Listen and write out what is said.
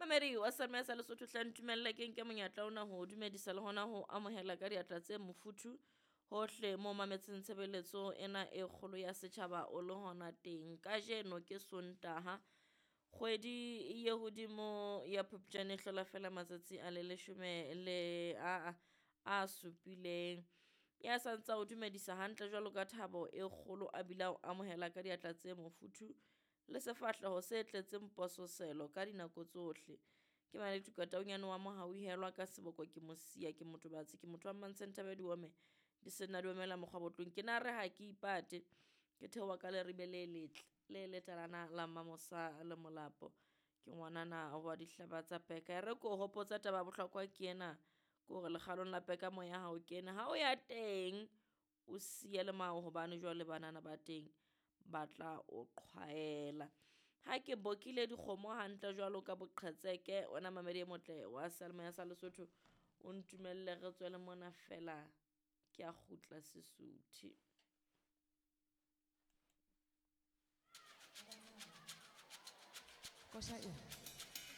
Mamedi wa Selemoya sa Lesotho hle ntumelle ke nke monyetla ona ho dumedisa le hona ho amohela ka diatla tse mofuthu hohle mo mametseng tshebeletso ena e kgolo ya setjhaba o le hona teng. Kajeno ke Sontaha kgwedi ye hodimo ya Phupjane e hlola fela matsatsi a le leshome le a a supileng. Ya sa ntsa o dumedisa hantle jwalo ka thabo e kgolo a bile a o amohela ka diatla tse mofuthu le sefahleho se tletseng pososelo ka dinako tsohle. Ke Maletuka Taunyane wa Mohauhelwa ka seboko ke Mosia, ke motho batsi, ke motho wa Mmantseng Thabeng Diome, di senna di omela mokgwa botlong. Ke na re ha ke ipate, ke theoha ka leribe le letle, le letalana la Mamosa le Molapo. Ke ngwanana wa dihlaba tsa peka. E re ko hopotsa taba ya bohlokwa ke ena, ke hore lekgalong la peka moya ha o kene. Ha o ya teng, o siye le mao hobane jwale banana ba teng ba tla o qhwaela. Ha ke bokile dikgomo hantle jwalo ka boqhetseke, wena mamedi e motle wa Seyalemoya sa Lesotho, o ntumelle re tswele mona fela ke a kgutla Sesotho. Kosha e.